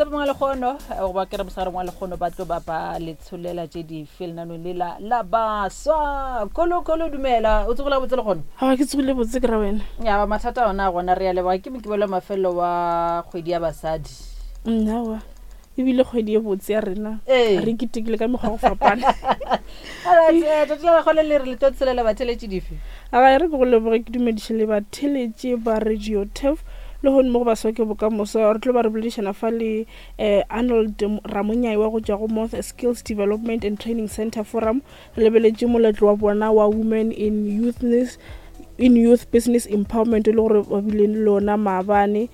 Thapamong ya lekgono goba ke re mosegareng wa lekgono ba tlo ba ba le tsholela tše dife lenanong le la la baswa. Kholo kholo dumela o tsogile botse lekgono? Aowa ke tsogile botse ke ra wena. Ya mathata ona a gona re a leboga ke mokibelo wa mafelelo wa kgwedi ya basadi. Nnawa ebile kgwedi ye botse ya rena Ee. re ketekile ka mekgwa go fapana. Alright, eh, tšatši la lekgono le re le tlo tshelela batheletši dife? Aga e re ke go leboge ke dumediše le batheletši ba Radio Turf le gone mo go baswa ke bokamoso re tlo ba re boledišana fa le eh, Arnold Ramonyai wa go tšwa go Moth Skills Development and Training Center Forum re lebeletše moletlo wa bona wa Women in Youthness in Youth Business Empowerment e le gore ba bile le ona maabane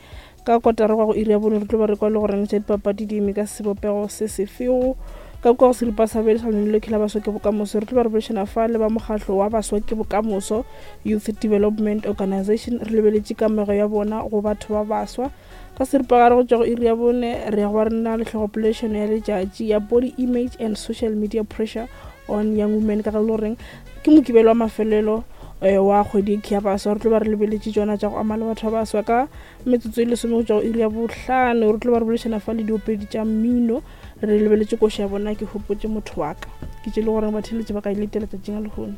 Ka kotara go ya go iri ya bone re tlo ba re kwa le goreng tša dipapadi di eme ka sebopego se sefego. Ka kua go seripa sa bobedi sa lenaneo la Baswa ke Bokamoso re tlo ba re boledišana fa le ba mokgahlo wa Baswa ke Bokamoso Youth Development Organisation re lebeletše kamego ya bona go batho ba baswa. Ka seripagare go tšwa go iri ya bone re ya go ba re na le hlogopoledišano ya letšatši ya Body Image and Social Media Pressure on Young Women ka ge le goreng ke mokibelo wa mafelelo eh, wa kgwedi ya baswa re tlo ba re lebeletše tšona tša go ama le batho ba baswa ka Metsotso e lesome go tšwa go iri ya bohlano re tlo ba re boledišana fa le diopedi tša mmino re lebeletše koša ya bona ke gopotše motho wa ka ke tše le goreng batheeletši ba ka e letela tšatšing la lehono.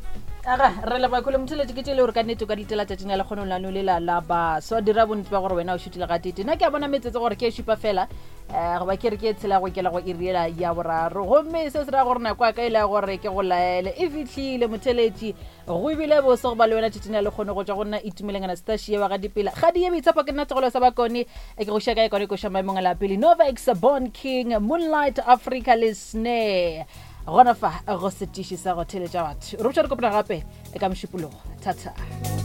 Aga, re leboga kgole motheeletši ke tše le gore ka nnete o ka di letela tšatšing la lekgono lano le la la baswa dira bonnete ba gore wena o šutile gatete nna ke a bona metsotso gore ke e šupa fela um goba ke re ke e tshela go kela go iri ela ya boraro gomme se se ra gore nako ya ka e le ya gore ke go laele e fihlile motheeletši Go bile bose go ba le wena tšatšing la lekgono go tšwa go nna Itumeleng Anastasia wa ga Dipela. Kgadi ye boitshepo ke nna Tsogolo sa Bakone e ke go šia ka ekwane koša maemong a la pele Novex, Born King, Moonlight Africa le Snare. Gona fa go setiši sa go theletša batho. Re botša re kopana gape ka Mošupologo. Thata.